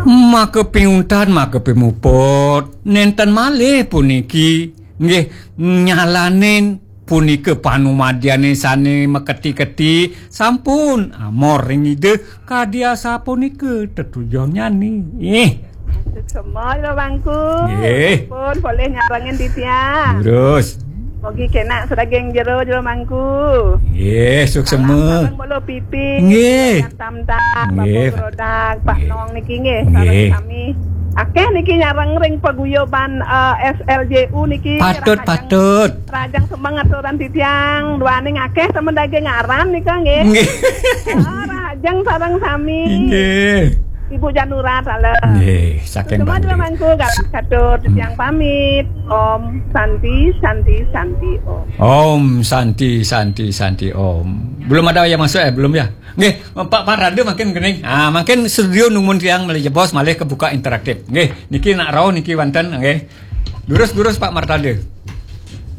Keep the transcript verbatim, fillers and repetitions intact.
Maka piuntat, maka pimuput, nenten malih puniki, nggih, nyalanin punika panumadyané sané maketi-keti, sampun amor ring Ida, kadi asapunika tetujonnyane. Ih. Suksema Jero Mangku. Nggih. Pun polih nyarengin titiang. Terus. Mugi kenak sadaging jero, Jero Mangku. Nggih, suksema. Salam sareng Bolo Pipi. Nggih. Tam-tam, Nggih. Bapak Grodak, Pak Nggih. Nong niki nggih, Nggih. Sareng sami. Akeh niki nyareng ring paguyuban, eh, S L J U niki. Patut, Rahajeng, patut. Rahajeng semeng aturan titiang, duaning akeh temen daging aran nika nggih. Nggih. Ah, Rahajeng sareng sami. Nggih. Ibu Janura taler. Nggih, saking Semua Bangli. Jero Mangku, Gatot Katur, titiang pamit. Om Santi, Santi, Santi, Om. Om Santi, Santi, Santi, Om. Belum ada yang masuk, eh? Belum, ya? Nggih, Pak Martanda makin kening. Ah, makin studio nungguin tiang malih jebos, malih kebuka interaktif. Nggih, niki nak rauh niki wonten, nggih. Durus-durus Pak Martanda.